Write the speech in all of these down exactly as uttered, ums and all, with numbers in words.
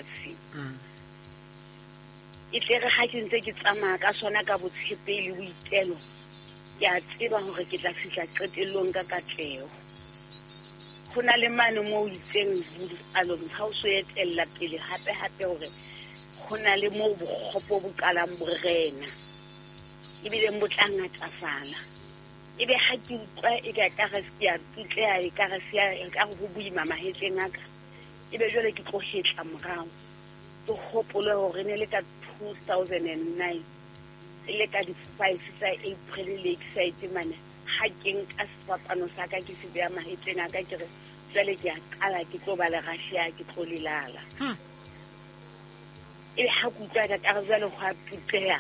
lefatshe. E tle re ha ke ntse ke tsamaya ka sona ka botshepehi le boitelo, ke a tseba hore ke tla fihla qetellong ka katleho. Ho na le mane moo itseng along ha o so etella pele hape hape hore ho na le moo bokgopo bo qalang borena ebile bo tla ngatafala. Ebe ha ke utlwa e ka ka re ke a tutleha e ka re se e ka ho boima mahetleng a ka, ebe jwale ke tlo hetla morao. Ke hopole hore ne le ka two thousand and nine le ka di five tsa April Lakeside mane ha ke nka sefapano sa ka ke se beha mahetleng a ka ke re jwale ke a qala ke tlo ba le Russia ke tlo lelala. Ebe ha ke utlwa ka ka re jwale ho a tutleha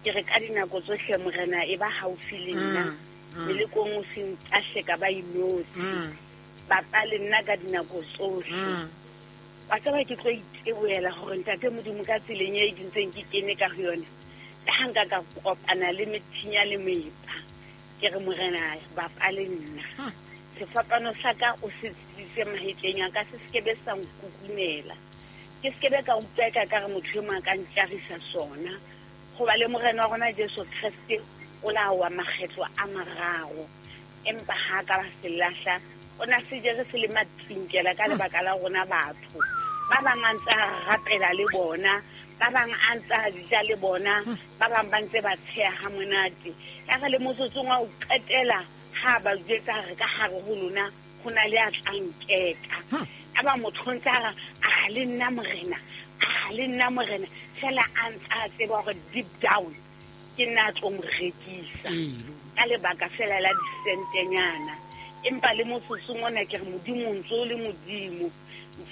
ke re ka dinako tsohle morena e ba haufi le nna. Melekong o se ntahle ka ba inotshi bapa le nna ka dinako tsohle. Wa tseba ke tlo itebohela hore ntate Modimo ka tseleng e ke ntseng ke kene ka ho yona, le ha nka ka kopana le methinya le mepa, ke re morena bapa le nna. Sefapano sa ka o se tsitsise mahetleng a ka, se sekebe sa nkukunela, ke sekebe ka utlwa ka ka re motho e mong a ka ntjarisa sona. Hoba le morena wa rona Jesu Kreste o la wa makgetlo a mararo, empa ha ka ba se lahla, o na se jere se le matsinkela ka lebaka la rona batho. Ba bang a ntse a rapela le bona, ba bang a ntse a ja le bona, ba bang ba ntse ba tsheha ha monate. Ya re le motsotsong wa ho qetela ha ba jwetsa re ka hare ho lona ho na le a tla nkeka. A ba motho o ntse a re a le nna morena, a le nna morena, fela a ntse a tseba hore deep down ke nna a tlo mo rekisa ka lebaka fela la disentenyana. Empa le motsotsong ona ke re Modimo o ntso o le Modimo,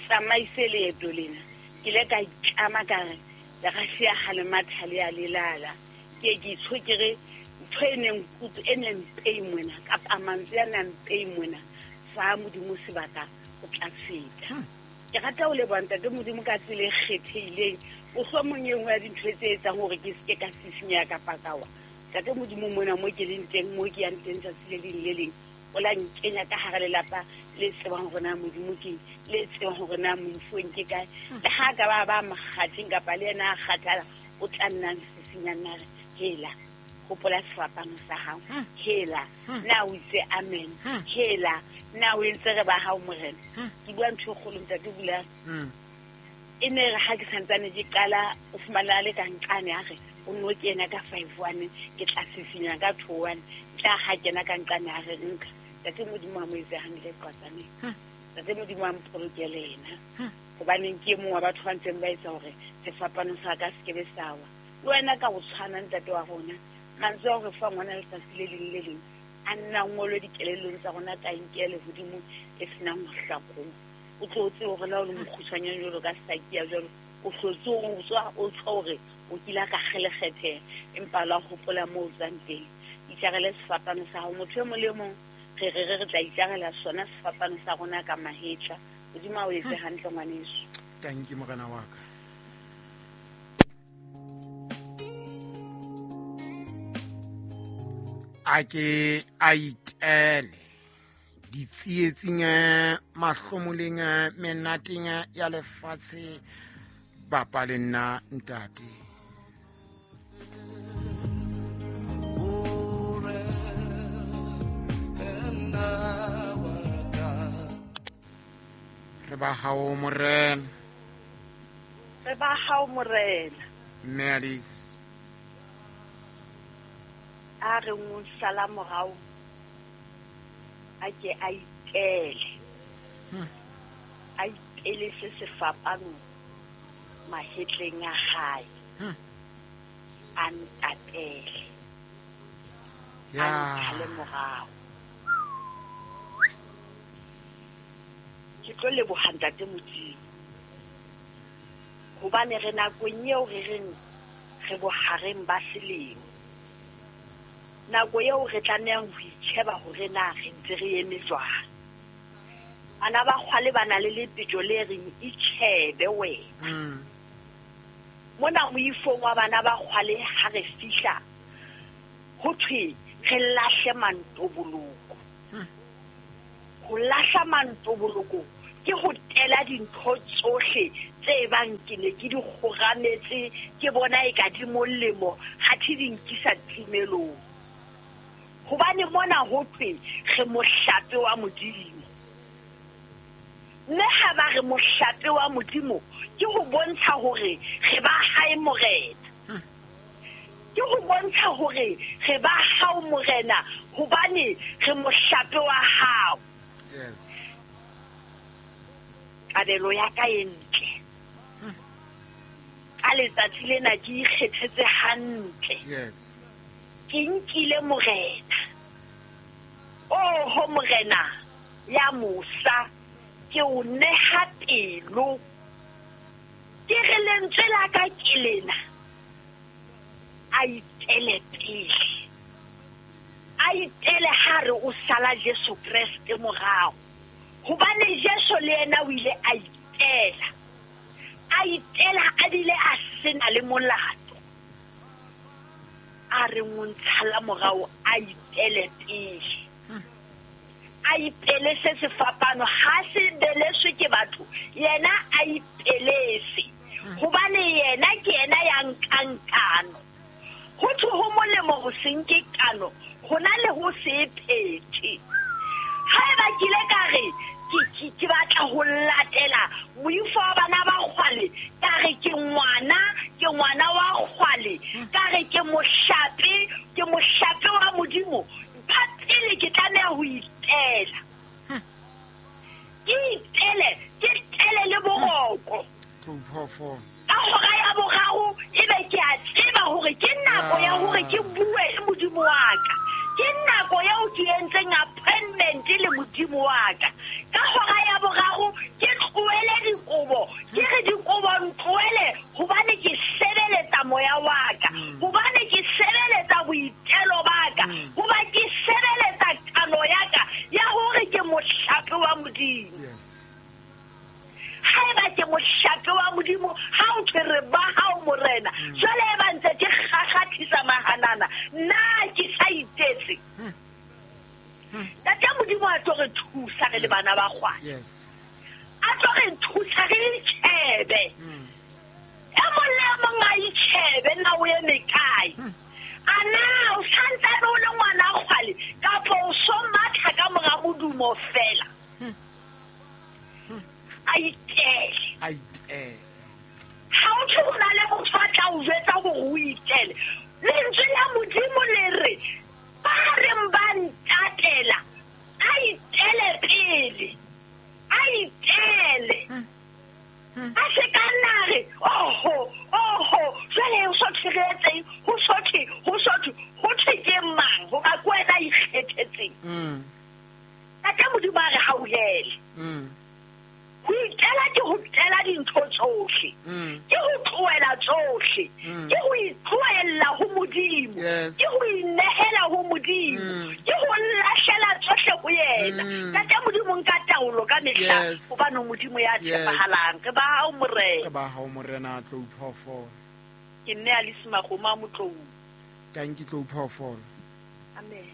tsamaise leeto lena. Ke ile ka itlama ka re le Russia ha le matha le a lelala. Ke ke itsho ke re ntho e neng kutu e neng mpei mona kapa mantswe a nang mpei mona fa Modimo sebaka o tla feta. Ke rata ho leboha ntate Modimo ka tsela e kgethehileng. Mohlomong e nngwe ya dintho tse etsang hore ke seke ka sisinyeha kapa ka wa. Ntate Modimo mona mo ke leng teng, mo ke yang teng tsatsi le leng le leng, o la nkenya ka hara lelapa le tsebang hore na Modimo ke le tsebang hore na moifong ke kae. Le ha ka ba ba mokgatheng kapa le yena a kgathala, o tla nna sisinya nna re hela hopola sefapano sa hao, hela na o itse amen, hela na o entse re ba hao morena. Ke bua ntho e kgolo ntate Bula. E ne re ha ke santsane ke qala o fumana le ka nqane a re o no kena ka five one ke tla sisinya ka two one, tla ha kena ka nqane a re nka. Ntate Modimo a mo etse hantle qatsaneng. Ntate Modimo a mpolokele yena. Hobaneng ke e mong wa batho ba ntseng ba etsa hore sefapano sa ka se kebe sa wa. Le wena ka ho tshwana ntate wa rona, mantswe a hore fa ngwana letsatsi le leng le leng a nna ngolwe dikelellong tsa rona ka nkele hodimo e senang ho hlakola. O tlo tsebe hore la o le mokgutshwanyane jwalo ka Sakia jwalo, o hlotse o tswa o tswa hore o kile ka kgelekgethe, empa la hopola moo o tswang teng. Itjarele sefapano sa hao. Motho e mong le mong re re re tla itjarela sona sefapano sa rona ka mahetla. Modimo a o etse hantle ngwaneso. Thank you morena wa ka. A ke a itele ditsietsing mahlomoleng menateng ya lefatshe bapa le nna ntate. Re ba hao morena, re ba hao morena. Mme Alice a re o sala morao a ke a itele, a itele se sefapano mahetleng a hae, a ntatele, a ntshale morao. Ke tlo leboha ntate Modimo hobane re nakong eo re reng re bohareng ba selemo, nako eo re tlamehang ho itjheba hore na re ntse re eme jwang. Bana ba kgwale ba na le lepetjo le reng itjhebe wena. Mona moifong wa bana ba kgwale ha re fihla ho thwe re lahle mantoboloko. Ho lahla mantoboloko ke Ke ho tela dintho tsohle tse bang ke ne ke di kgorametse ke bona e ka di molemo ha thi di nkisa timelong. Hobane mona ho thwe re mohlape wa Modimo. Mme ha ba re mohlape wa Modimo ke ho bontsha hore re ba hae Morena. Ke ho bontsha hore re ba hao Morena hobane re mohlape wa hao. Yes. Kabelo ya ka e ntle. Ka letsatsi lena ke ikgethetse hantle. Yes. Ke nkile Morena. Oho Morena ya mosa, ke o neha pelo. Ke re lentswe la ka ke lena. A itele pele. A itele ha re o sala Jesu Kreste morao. Hobane Jesu le yena o ile a itela. A itela a bile a sena le molato. A re o ntshala morao a itele pele. A ipele se sefapano ha se beleswe ke batho, yena a ipelese. Hobane yena ke yena ya nkang kano. Ho thwe ho molemo ho se nke kano, hona le ho se phethe. Haeba ke ile ka re ke ke batla ho latela moifo wa bana ba kgwale, ka re ke ngwana, ke ngwana wa kgwale, ka re ke mohlape, ke mohlape wa Modimo. Ka pele ke tlameha ho itela. Ke itele, ke itele le boroko. Ka hora ya boraro ebe ke a tseba hore ke nako ya hore ke bue le Modimo wa ka. Ke nako eo ke entseng appointment le Modimo wa ka. Ka hora ya boraro ke tlohele dikobo, ke re dikobo ntlohele hobane ke sebeletsa moya wa ka, hobane ke sebeletsa boitelo ba ka, hoba ke sebeletsa kano ya ka ya hore ke mohlape wa Modimo. Yes. Haeba ke mohlape wa Modimo, ha o thwe re ba hao Morena, jwale e ba ntse ke kgakgathisa mahanana, nna ke sa itetse. Ntate Modimo a tlo re thusa re le bana ba kgwale. Yes. A tlo re thusa re itjhebe. E mong le mong a itjhebe na o eme kae. A na o santsane o le ngwana kgwale kapa o so matha ka mora modumo fela. A itele. A itele. Ha o thwe ho na le motho a tla o jwetsa hore o itele. Lentswe la Modimo le re ba reng ba ntatela a itele pele. A itele. A se ka nna re oho oho jwale o so thwe ho so thwe ho so thwe ho thwe ke mang hoba ke wena a ikgethetseng. Ntate Modimo a re hauhele. Ho itela ke ho tela dintho tsohle. Ke ho tlohela tsohle. Ke ho itlohella ho Modimo. Ke ho inehela ho Modimo. Ke ho lahlela tsohle ho yena. Ntate Modimo nka taolo ka mehla hobane Modimo ya tshepahalang. Re ba hao Morena. Re ba hao Morena Tlou Phoofolo. Ke nne Alice Magoma Motlou. Thank you Tlou Phoofolo. Amen.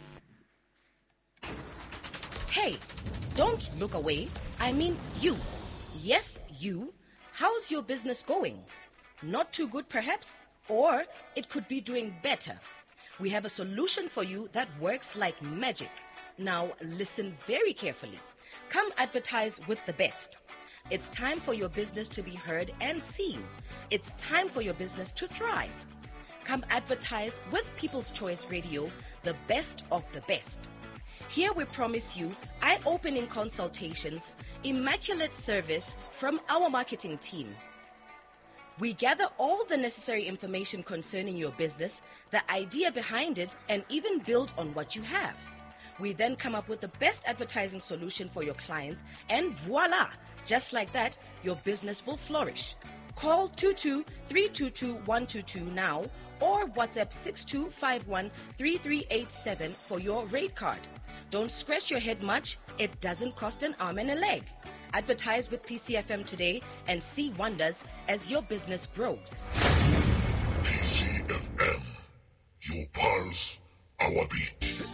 Hey, don't look away. I mean you. Yes, you. How's your business going? Not too good, perhaps? Or it could be doing better. We have a solution for you that works like magic. Now, listen very carefully. Come advertise with the best. It's time for your business to be heard and seen. It's time for your business to thrive. Come advertise with People's Choice Radio, the best of the best. Here we promise you eye-opening consultations, immaculate service from our marketing team. We gather all the necessary information concerning your business, the idea behind it, and even build on what you have. We then come up with the best advertising solution for your clients, and voila! Just like that, your business will flourish. Call two two three two two one two two now or WhatsApp six two five one three three eight seven for your rate card. Don't scratch your head much. It doesn't cost an arm and a leg. Advertise with P C F M today and see wonders as your business grows. P C F M, your pulse, our beat.